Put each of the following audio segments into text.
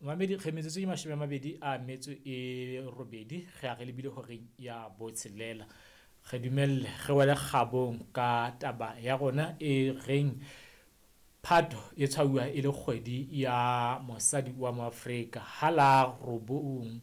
Mamedi re metsotso ke 28 re a re lebile horeng ya 6. Re dumelle re wele kgabong ka taba ya rona e reng Phato e tshwauwa e le kgwedi ya mosadi wa Moafrika. Ha la 9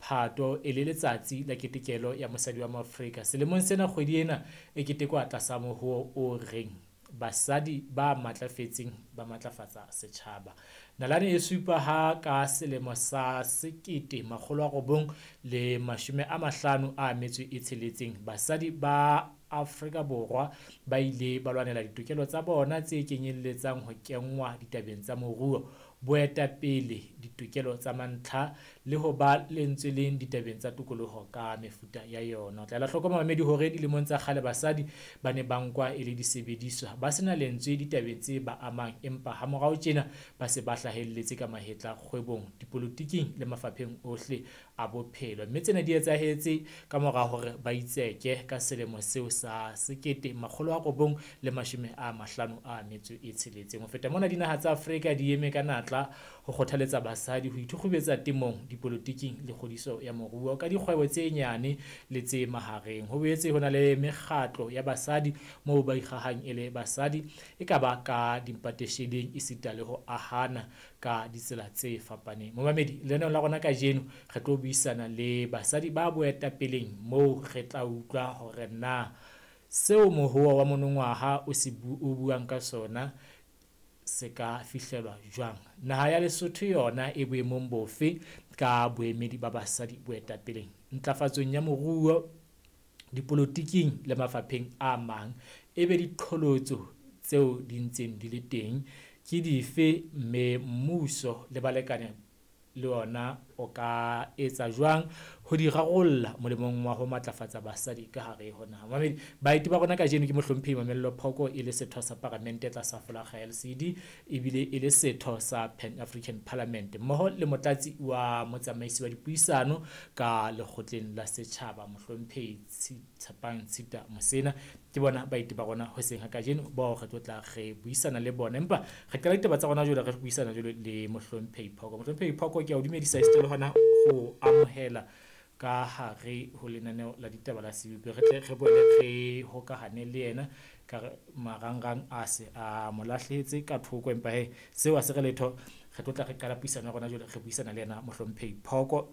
Phato e le letsatsi la ketekelo ya mosadi wa Moafrika. Selemong sena kgwedi ena e ketekwa tlasa mohoo o reng basadi ba matlafetseng ba matlafatsa setjhaba. Nalane e supa ha ka selemo sa 1956 basadi ba Afrika Borwa ba ile ba lwanela ditokelo tsa bona tse kenyelletsang ho kenngwa ditabeng tsa moruo, boetapele, ditokelo tsa mantlha le ho ba lentsweleng ditabeng tsa tokoloho ka mefuta ya yona. O tla ela hloko mamedi hore dilemong tsa kgale basadi ba ne ba nkwa e le disebediswa, ba sena lentswe ditabeng tse ba amang, empa hamorao tjena ba se ba hlahelletse ka mahetla kgwebong, dipolotiking le mafapheng ohle a bophelo. Mme tsena di etsahetse ka mora hore ba itseke ka selemo seo sa 1956. Ho feta mona, dinaha tsa Afrika di eme ka natla ho kgothaletsa basadi ho ithukgubetsa temong, dipolotiking le kgodiso ya moruo ka dikgwebo tse nyane le tse mahareng. Ho boetse ho na le mekgatlo ya basadi moo ba ikgahang e le basadi, e ka ba ka dipatesheleng esita le ho ahana ka ditsela tse fapaneng. Momamedi, lenaneong la rona kajeno re tlo buisana le basadi ba boetapeleng moo re tla utlwa hore na seo mohoa wa monongwaha o se o buang ka sona se ka fihlelwa jwang. Naha ya Lesotho yona e boemong bofe ka boemedi ba basadi boetapeleng, ntlafatsong ya moruo, dipolotiking le mafapheng a mang. Ebe diqholotso tseo di ntseng di le teng ke dife, mme mmuso le balekane le ona o ka etsa jwang ho di rarolla molemong wa ho matlafatsa basadi ka hare ho naha. Mamedi, baeti ba rona kajeno ke mohlomphehi Mamello Phoko e le setho sa paramente tlasa folakga ya LCD ebile e le setho sa Pan African Parliament mmoho le motlatsi wa motsamaisi wa dipuisano ka lekgotleng la setjhaba mohlomphehi Tshepang Tshita Mosena. Ke bona baeti ba rona hoseng ha kajeno bao re tlo tla re buisana le bona, empa re qala ditaba tsa rona jwale re buisana jwale le mohlomphehi Phoko. Mohlomphehi Phoko, ke a o dumedisa esita le hona ho amohela ka hare ho lenaneo la ditaba la Sebupi. Re tle re boele re hokahane le yena ka re marangrang a se a mo lahlehetse ka thoko, empa he seo ha se re letho. Re tlo tla re qala puisano ya rona jwale re buisana le yena mohlomphehi Phoko.